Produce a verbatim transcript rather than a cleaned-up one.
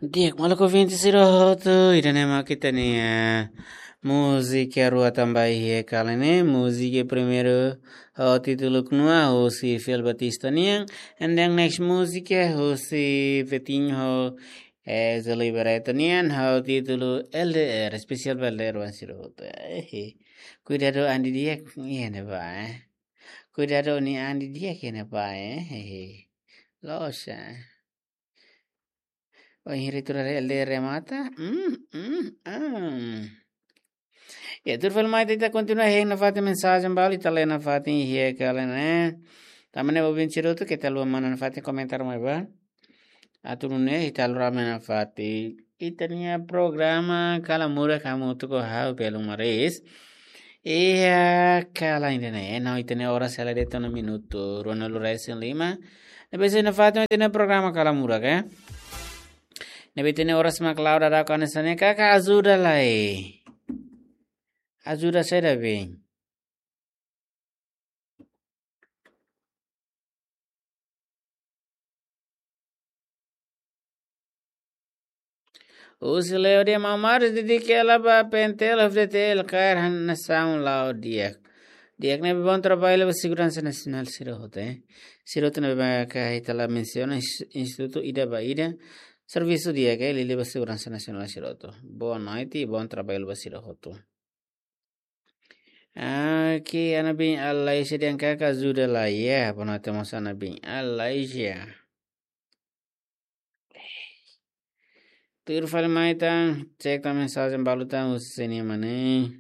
Di'ak, maluk ouvinte sira hotu, ida-ne'e mak ita-nia múzika rua tanba iha kala ne'e, múzika primeiru ho títulu Knua husi Fiel Batista nian, and then next múzika husi Vitinho, eh, Zoli Barreto nian, ho títulu L D R, espesiál ba L D R oan sira hotu. Eh, kuidadu an didi'ak iha ne'ebá, eh. Kuidadu nia an didi'ak iha ne'ebá, eh. Eh, loos, eh. Oh, ini retura L D R mata. Hmm, hmm, hmm. Ya, tuir fali mai ita kontinua hein nafatin mensajen balu, ita lee nafatin iha kala ne'e. Tanba ne'e ouvinte sira hotu keta haluha manán nafatin komentáriu mai ba. Atu nune'e ita lori mai nafatin ita-nia programa Kala Murak hamutuk ho ha'u Belu Maris. Iha kala ida-ne'e, no ita-nia oras hela de'it ona minutu ruanulu resin lima. Ne'ebé sei nafatin ita-nia programa Kala Murak, eh. Ne'ebé ita-nia oras mak la'o daudaun hanesan ne'e, kaka ajuda lai. Ajuda saida be? Husi Leo de Mamar, dedika hela ba P N T L, F D T L, kaer han nasaun la'o di'ak. Di'ak ne'ebé bom traballu ba seguransa nasionál sira hotu, eh. Sira hotu ne'ebé mak ita la mensiona ins-, institutu ida ba ida. Servisu di'ak, eh, liuliu ba seguransa nasionál sira hotu. Boa noite, bom traballu ba sira hotu. Oke, Ana Bin Alaisha dehan kaka ajuda lai, ya, boa noite mós Ana Bin Alaisha. Tuir fali mai tan, cek tan mensajen balu tan husi sini mane.